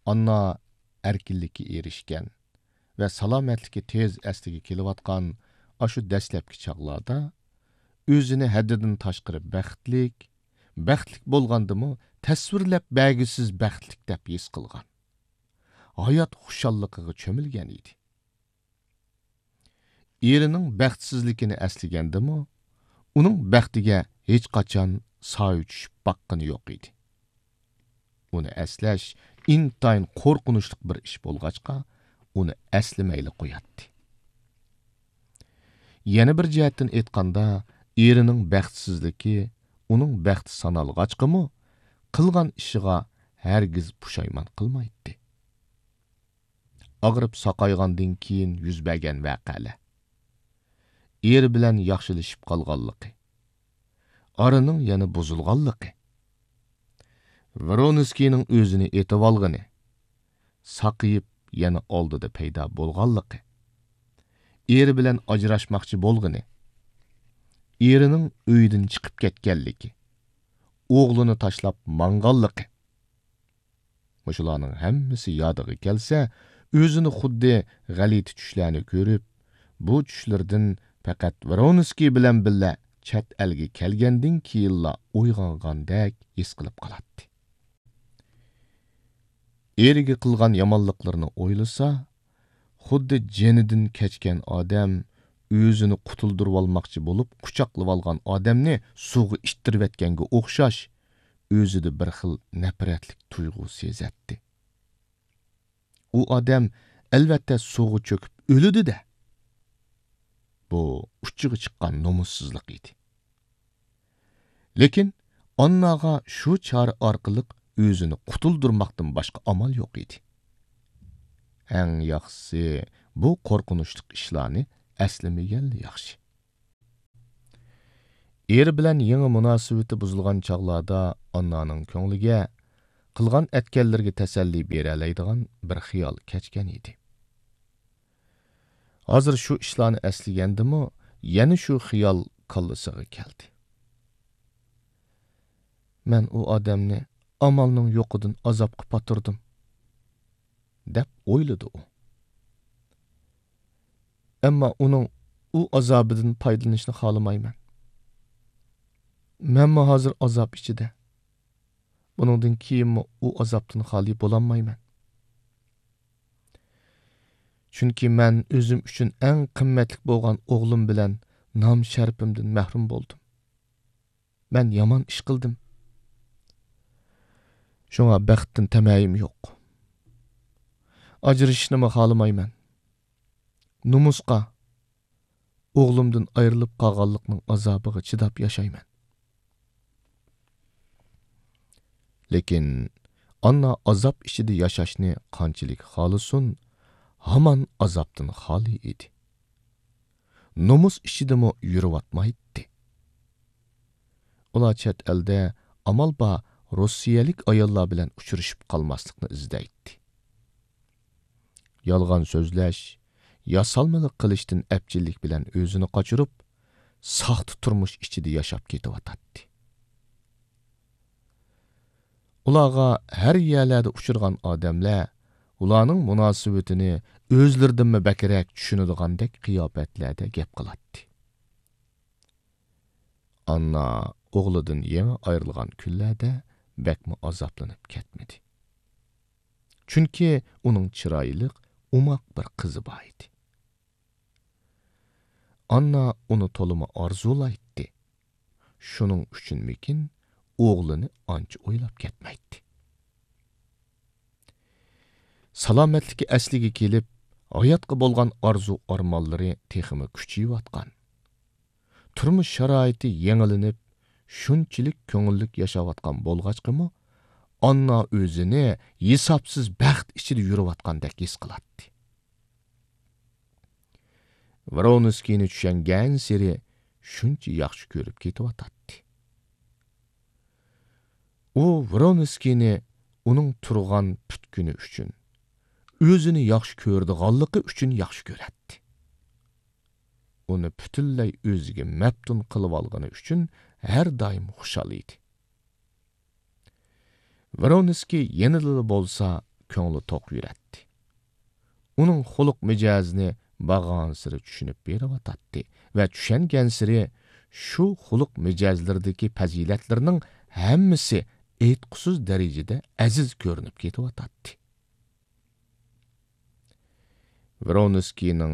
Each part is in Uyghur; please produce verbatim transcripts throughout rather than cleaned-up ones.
ئاننا ئەركىنلىككە ئېرىشكەن ۋە سالامەتلىكى تېز ئەسلىگە كېلىۋاتقان ئاشۇ دەسلەپكى چاغلاردا ئۆزىنى ھەددىدىن تاشقىرى بەختلىك، بەختلىك بولغاندىمۇ تەسۋىرلەپ بەرگۈسىز بەختلىك دەپ ھېس قىلغان. ھايات خۇشاللىقىغا چۆمۈلگەن ئىدى. ئېرىنىڭ بەختسىزلىكىنى ئەسلىگەندىمۇ، ئۇنىڭ بەختىگە ھېچقاچان سايە چۈشۈپ باققىنى يوق ئىدى. ئۇنى ئەسلەش ئىنتايىن قورقۇنچلۇق بىر ئىش بولغاچقا، ئۇنى ئەسلىمەيلا قوياتتى. يەنە بىر جەھەتتىن ئېيتقاندا، ئېرىنىڭ بەختسىزلىكى ئۇنىڭ بەختى سانالغاچقىمۇ، قىلغان ئىشىغا ھەرگىز پۇشايمان قىلمايتتى. ئاغرىپ ساقايغاندىن كېيىن يۈز بەرگەن ۋەقەلەر. ئېرى بىلەن ياخشىلىشىپ قالغانلىقى. ئارىنىڭ يەنە بۇزۇلغانلىقى. ۋرونسكىينىڭ ئۆزىنى ئېتىۋالغىنى. ساقىيىپ يەنە ئالدىدا پەيدا بولغانلىقى. ئېرى بىلەن ئاجراشماقچى بولغىنى. ئېرىنىڭ ئۆيدىن چىقىپ كەتكەنلىكى. ئوغلىنى تاشلاپ ماڭغانلىقى. مۇشۇلارنىڭ ھەممىسى يادىغا كەلسە، ئۆزىنى خۇددى غەلىتە چۈشلەرنى كۆرۈپ، بۇ چۈشلىرىدىن پەقەت ۋرونسكىي بىلەن بىللە چەت ئەلگە كەلگەندىن كېيىنلا ئويغانغاندەك ھېس قىلىپ قالاتتى. ئېرىگە قىلغان يامانلىقلىرىنى ئويلىسا، خۇددى جېنىدىن كەچكەن ئادەم ئۆزىنى قۇتۇلدۇرۇۋالماقچى بولۇپ قۇچاقلىۋالغان ئادەمنى سۇغا ئىتتىرىۋەتكەنگە ئوخشاش، ئۆزىدە بىر خىل نەپرەتلىك تۇيغۇ سېزەتتى. ئۇ ئادەم ئەلۋەتتە سۇغا چۆكۈپ ئۆلىدۇ-دە. بۇ ئۇچىغا چىققان نومۇسسىزلىق ئىدى. لېكىن ئانناغا شۇ چارە ئارقىلىق ئۆزىنى قۇتۇلدۇرماقتىن باشقا ئامال يوق ئىدى. ئەڭ ياخشىسى، بۇ قورقۇنچلۇق ئىشلارنى ئەسلىمىگەنلا ياخشى. ئېرى بىلەن يېڭى مۇناسىۋىتى بۇزۇلغان چاغلاردا ئاننانىڭ كۆڭلىگە قىلغان ئەتكەنلىرىگە تەسەللى بېرەلەيدىغان بىر خىيال كەچكەن ئىدى. ھازىر شۇ ئىشلارنى ئەسلىگەندىمۇ، يەنە شۇ خىيال كاللىسىغا كەلدى. مەن ئۇ ئادەمنى ئامالنىڭ يوقىدىن ئازابقا پاتۇردۇم، دەپ ئويلىدى ئۇ. ئەمما ئۇنىڭ ئۇ ئازابىدىن پايدىلىنىشنى خالىمايمەن. مەنمۇ ھازىر ئازاب ئىچىدە. بۇنىڭدىن كېيىنمۇ ئۇ ئازابتىن خالىي بولالمايمەن. چۈنكى مەن ئۆزۈم ئۈچۈن ئەڭ قىممەتلىك بولغان ئوغلۇم بىلەن نام-شەرىپىمدىن مەھرۇم بولدۇم. مەن يامان ئىش قىلدىم. شۇڭا بەختتىن تەمەيىم يوق. ئاجرىشىشنىمۇ خالىمايمەن. نومۇسقا، ئوغلۇمدىن ئايرىلىپ قالغانلىقنىڭ ئازابىغا چىداپ ياشايمەن. لېكىن ئاننا ئازاب ئىچىدە ياشاشنى قانچىلىك خالىسۇن، ھامان ئازابتىن خالىي ئىدى. نومۇس ئىچىدىمۇ يۈرۈۋاتمايتتى. ئۇلار چەت ئەلدە ئامال بار روسىيەلىك ئاياللار بىلەن ئۇچرىشىپ قالماسلىقنى ئىزدەيتتى. يالغان سۆزلەش، ياسالمىلىق قىلىشتىن ئەپچىللىك بىلەن ئۆزىنى قاچۇرۇپ، ساختا تۇرمۇش ئىچىدە ياشاپ كېتىۋاتاتتى. ئۇلارغا ھەر يەرلەردە ئۇچرىغان ئادەملەر ئۇلارنىڭ مۇناسىۋىتىنى ئۆزلىرىدىنمۇ بەكرەك چۈشىنىدىغاندەك قىياپەتلەردە گەپ قىلاتتى. ئاننا ئوغلىدىن يېڭى ئايرىلغان كۈنلەردە بەكمۇ ئازابلىنىپ كەتمىدى. چۈنكى ئۇنىڭ چىرايلىق، ئوماق بىر قىزى بار ئىدى. ئاننا ئۇنى تولىمۇ ئارزۇلايتتى. شۇنىڭ ئۈچۈنمىكىن، ئوغلىنى ئانچە ئويلاپ كەتمەيتتى. سالامەتلىكى ئەسلىگە كېلىپ، ھاياتقا بولغان ئارزۇ-ئارمانلىرى تېخىمۇ كۈچىيىۋاتقان. تۇرمۇش شارائىتى يېڭىلىنىپ، شۇنچىلىك كۆڭۈللۈك ياشاۋاتقان بولغاچقىمۇ، ئاننا ئۆزىنى ھېسابسىز بەخت ئىچىدە يۈرۈۋاتقاندەك ھېس قىلاتتى. ۋرونسكىينى چۈشەنگەنسېرى شۇنچە ياخشى كۆرۈپ كېتىۋاتاتتى. ئۇ ۋرونسكىينى ئۇنىڭ تۇرغان پۈتكۈنى ئۈچۈن، ئۆزىنى ياخشى كۆرىدىغانلىقى ئۈچۈن ياخشى كۆرەتتى. ئۇنى پۈتۈنلەي ئۆزىگە مەپتۇن قىلىۋالغىنى ئۈچۈن ھەر دائىم خۇشال ئىدى. ۋرونسكىي يەنىلا بولسا كۆڭلى توق يۈرەتتى. ئۇنىڭ خۇلق مىجەزىنى بارغانسېرى چۈشىنىپ بېرىۋاتاتتى ۋە چۈشەنگەنسېرى شۇ خۇلق مىجەزلىرىدىكى پەزىلەتلىرىنىڭ ھەممىسى ئېيتقۇسىز دەرىجىدە ئەزىز كۆرۈنۈپ كېتىۋاتاتتى. ۋرونسكىينىڭ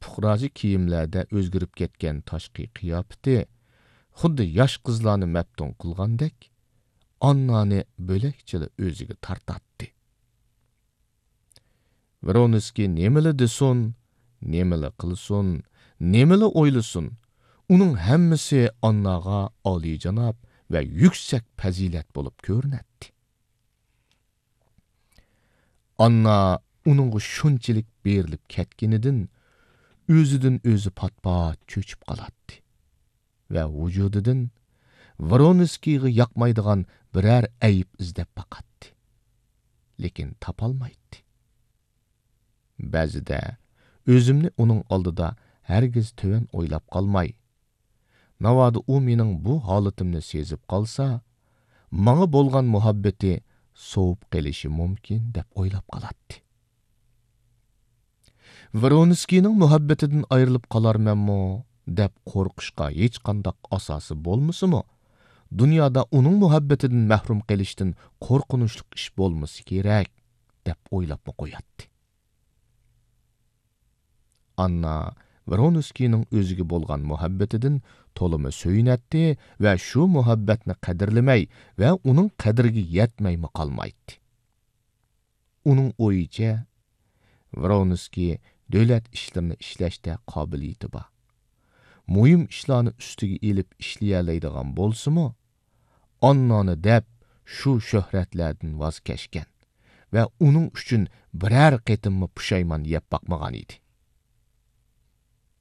پۇقراچە كىيىملەردە ئۆزگىرىپ كەتكەن تاشقى قىياپىتى خۇددى ياش قىزلارنى مەپتۇن قىلغاندەك، ئاننانى بۆلەكچىلا ئۆزىگە تارتاتتى. ۋرونسكىي نېمىلا دېسۇن، نېمىلا قىلسۇن، نېمىلا ئويلىسۇن، ئۇنىڭ ھەممىسى ئانناغا ئالىيجاناب ۋە يۈكسەك پەزىلەت بولۇپ كۆرۈنەتتى. ئاننا ئۇنىڭغا شۇنچىلىك بېرىلىپ كەتكىنىدىن ئۆزىدىن ئۆزى پات-پات چۆچۈپ قالاتتى ۋە ۋۇجۇدىدىن ۋرونسكىيغا ياقمايدىغان بىرەر ئەيىب ئىزدەپ باقاتتى. لېكىن تاپالمايتتى. بەزىدە ئۆزۈمنى ئۇنىڭ ئالدىدا ھەرگىز تۆۋەن ئويلاپ قالماي، ناۋادا ئۇ مېنىڭ بۇ ھالىتىمنى سېزىپ قالسا، ماڭا بولغان مۇھەببىتى سوۋۇپ قېلىشى مۇمكىن دەپ ئويلاپ قالاتتى. ۋرونسكىينىڭ مۇھەببىتىدىن ئايرىلىپ قالارمەنمۇ دەپ قورقۇشقا ھېچقانداق ئاساسى بولمىسىمۇ، دۇنيادا ئۇنىڭ مۇھەببىتىدىن مەھرۇم قېلىشتىن قورقۇنچلۇق ئىش بولمىسا كېرەك دەپ ئويلاپمۇ قوياتتى. ئاننا ۋرونسكىينىڭ ئۆزىگە بولغان مۇھەببىتىدىن تولىمۇ سۆيۈنەتتى ۋە شۇ مۇھەببەتنى قەدىرلىمەي ۋە ئۇنىڭ قەدرىگە يەتمەيمۇ قالمايتتى. ئۇنىڭ ئويىچە، ۋرونسكىي دۆلەت ئىشلىرىنى ئىشلەشتە قابىلىيىتى بار. مۇھىم ئىشلارنى ئۈستىگە ئېلىپ ئىشلىيەلەيدىغان بولسىمۇ، ئاننانى دەپ شۇ شۆھرەتلەردىن ۋاز كەچكەن ۋە ئۇنىڭ ئۈچۈن بىرەر قېتىممۇ پۇشايمان يەپ باقمىغان ئىدى.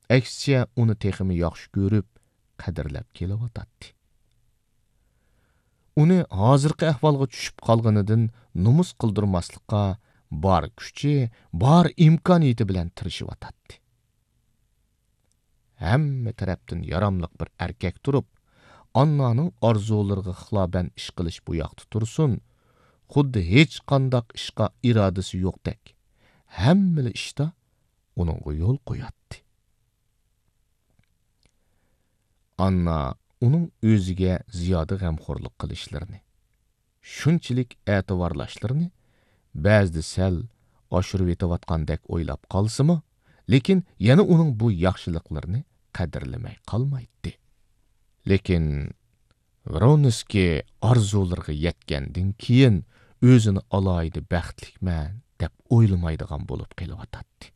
ئەكسىچە، ئۇنى تېخىمۇ ياخشى كۆرۈپ، قەدىرلەپ كېلىۋاتاتتى. ئۇنى ھازىرقى ئەھۋالغا چۈشۈپ قالغىنىدىن نومۇس قىلدۇرماسلىققا بار كۈچى، بار ئىمكانىيىتى بىلەن تىرىشىۋاتاتتى. ھەممە تەرەپتىن ياراملىق بىر ئەركەك تۇرۇپ، ئاننانىڭ ئارزۇلىرىغا خىلاپەن ئىش قىلىش بۇ ياقتا تۇرسۇن، خۇددى ھېچقانداق ئىشقا ئىرادىسى يوقتەك، ھەممىلا ئىشتا ئۇنىڭغا يول قوياتتى. ئاننا ئۇنىڭ ئۆزىگە زىيادە غەمخورلۇق قىلىشلىرىنى، شۇنچىلىك ئەتىۋارلاشلىرىنى بەزىدە سەل ئاشۇرۇۋېتىۋاتقاندەك ئويلاپ قالسىمۇ، لېكىن يەنە ئۇنىڭ بۇ ياخشىلىقلىرىنى قەدىرلىمەي قالمايتتى. لېكىن ۋرونسكىي ئارزۇلىرىغا يەتكەندىن كېيىن ئۆزىنى ئالاھىدە بەختلىكمەن دەپ ئويلىمايدىغان بولۇپ قېلىۋاتاتتى.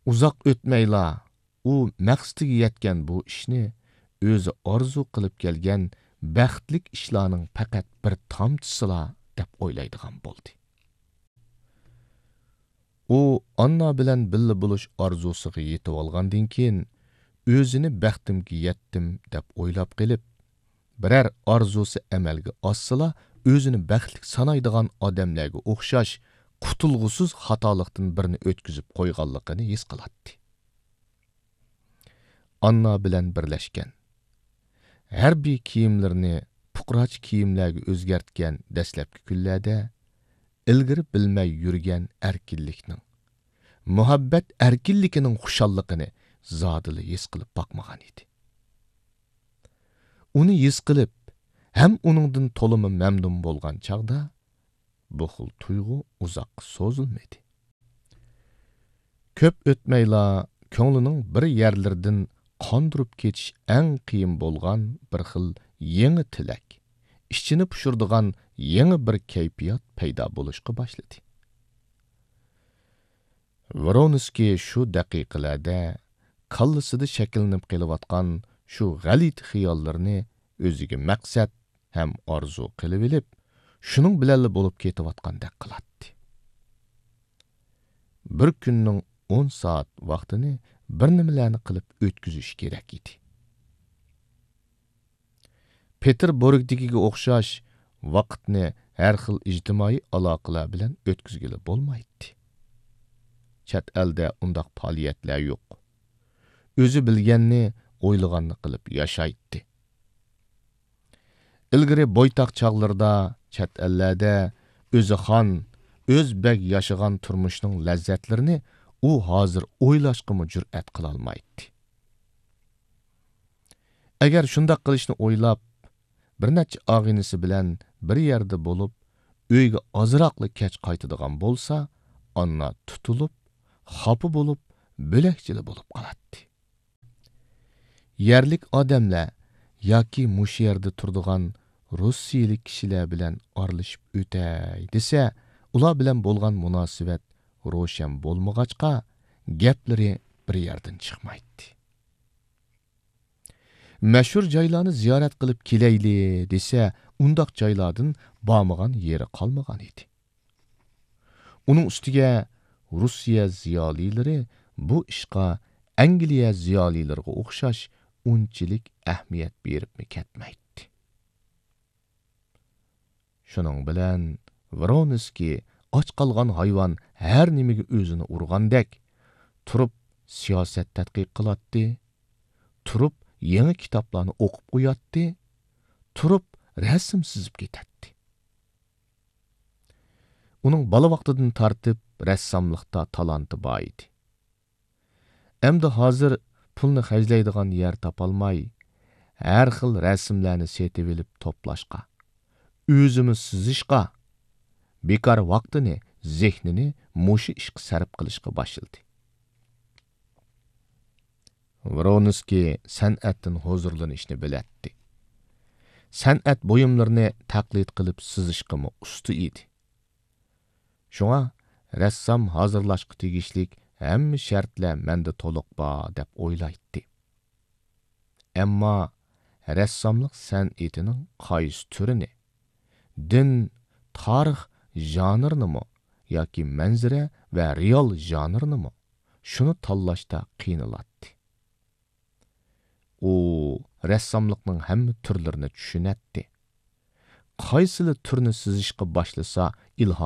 ئۇزاق ئۆتمەيلا ئۇ مەقسىتىگە يەتكەن بۇ ئىشنى ئۆزى ئارزۇ قىلىپ كەلگەن بەختلىك ئىشلارنىڭ پەقەت بىر تامچىسىلا دەپ ئويلايدىغان بولدى. ئۇ ئاننا بىلەن بىللە بولۇش ئارزۇسىغا يېتىۋالغاندىن كېيىن، ئۆزىنى بەختىمگە يەتتىم دەپ ئويلاپ قېلىپ، بىرەر ئارزۇسى ئەمەلگە ئاشسىلا، ئۆزىنى بەختلىك سانايدىغان ئادەملەرگە ئوخشاش قۇتۇلغۇسىز خاتالىقتىن بىرنى ئۆتكۈزۈپ قويغانلىقىنى ھېس قىلاتتى. ئاننا بىلەن بىرلەشكەن، ھەربىي كىيىملىرىنى پۇقراچە كىيىملەرگە ئۆزگەرتكەن دەسلەپكى كۈنلەردە ئىلگىرى بىلمەي يۈرگەن ئەركىنلىكنىڭ، مۇھەببەت ئەركىنلىكىنىڭ خۇشاللىقىنى زادىلا ھېس قىلىپ باقمىغان ئىدى. ئۇنى ھېس قىلىپ، ھەم ئۇنىڭدىن تولىمۇ مەمنۇن بولغان چاغدا، بۇ خىل تۇيغۇ ئۇزاققا سوزۇلمىدى. كۆپ ئۆتمەيلا، كۆڭلىنىڭ بىر يەرلىرىدىن قاندۇرۇپ كېتىش ئەڭ قىيىن بولغان بىر خىل يېڭى تىلەك، ئىچىنى پۇشۇرىدىغان يېڭى بىر كەيپىيات پەيدا بولۇشقا باشلىدى. ۋرونسكىي شۇ دەقىقىلەردە كاللىسىدا شەكىللىنىپ قېلىۋاتقان شۇ غەلىتە خىياللىرىنى ئۆزىگە مەقسەت ھەم ئارزۇ قىلىۋېلىپ، شۇنىڭ بىلەنلا بولۇپ كېتىۋاتقاندەك قىلاتتى. بىر كۈننىڭ ئون سائەت ۋاقتىنى بىر نېمىلەرنى قىلىپ ئۆتكۈزۈش كېرەك ئىدى. پېتېربۇرگدىكىگە ئوخشاش ۋاقىتنى ھەر خىل ئىجتىمائىي ئالاقىلەر بىلەن ئۆتكۈزگىلى بولمايتتى. چەت ئەلدە ئۇنداق پائالىيەتلەر يوق. ئۆزى بىلگەننى، ئويلىغاننى قىلىپ ياشايتتى. ئىلگىرى بويتاق چاغلىرىدا چەت ئەللەردە ئۆزى خان، ئۆز بەگ ياشىغان تۇرمۇشنىڭ لەززەتلىرىنى ئۇ ھازىر ئويلاشقىمۇ جۈرئەت قىلالمايتتى. ئەگەر شۇنداق قىلىشنى ئويلاپ، بىر نەچچە ئاغىنىسى بىلەن بىر يەردە بولۇپ، ئۆيگە ئازراقلا كەچ قايتىدىغان بولسا، ئاننا تۇتۇلۇپ، خاپا بولۇپ، بۆلەكچىلا بولۇپ قالاتتى. يەرلىك ئادەملەر ياكى مۇشۇ يەردە تۇرىدىغان روسىيىلىك كىشىلەر بىلەن ئارىلىشىپ ئۆتەي دېسە، ئۇلار بىلەن بولغان مۇناسىۋەت روشەن بولمىغاچقا، گەپلىرى بىر يەردىن چىقمايتتى. مەشھۇر جايلارنى زىيارەت قىلىپ كېلەيلى دېسە، ئۇنداق جايلاردىن بارمىغان يېرى قالمىغان ئىدى. ئۇنىڭ ئۈستىگە روسىيە زىيالىيلىرى بۇ ئىشقا ئەنگلىيە زىيالىيلىرىغا ئوخشاش ئۇنچىلىك ئەھمىيەت بېرىپمۇ كەتمەيتتى. شۇنىڭ بىلەن ۋرونسكىي ئاچ قالغان ھايۋان ھەر نېمىگە ئۆزىنى ئۇرغاندەك، تۇرۇپ سىياسەت تەتقىق قىلاتتى، تۇرۇپ يېڭى كىتابلارنى ئوقۇپ قوياتتى، تۇرۇپ رەسىم سىزىپ كېتەتتى. ئۇنىڭ بالا ۋاقتىدىن تارتىپ رەسساملىقتا تالانتى بار ئىدى. ئەمدى ھازىر پۇلنى خەجلەيدىغان يەر تاپالماي، ھەر خىل رەسىملەرنى سېتىۋېلىپ توپلاشقا، ئۆزىمۇ سىزىشقا، بىكار ۋاقتىنى، زېھنىنى مۇشۇ ئىشقا سەرپ قىلىشقا باشلىدى. ۋرونسكىي سەنئەتتىن ھۇزۇرلىنىشنى بىلەتتى. سەنئەت بۇيۇملىرىنى تەقلىد قىلىپ سىزىشقىمۇ ئۇستا ئىدى. شۇڭا رەسسام ھازىرلاشقا تېگىشلىك ھەممە شەرتلەر مەندە تولۇق بار دەپ ئويلايتتى. ئەمما رەسساملىق سەنئىتىنىڭ قايسى تۈرىنى، دىن، تارىخ ژانىرىنىمۇ ياكى مەنزىرە ۋە رېئال ژانىرىنىمۇ، شۇنى تاللاشتا قىينىلاتتى. ئۇ رەسساملىقنىڭ ھەممە تۈرلىرىنى چۈشىنەتتى. قايسىلا تۈرنى سىزىشقا باشلىسا، ئىلھام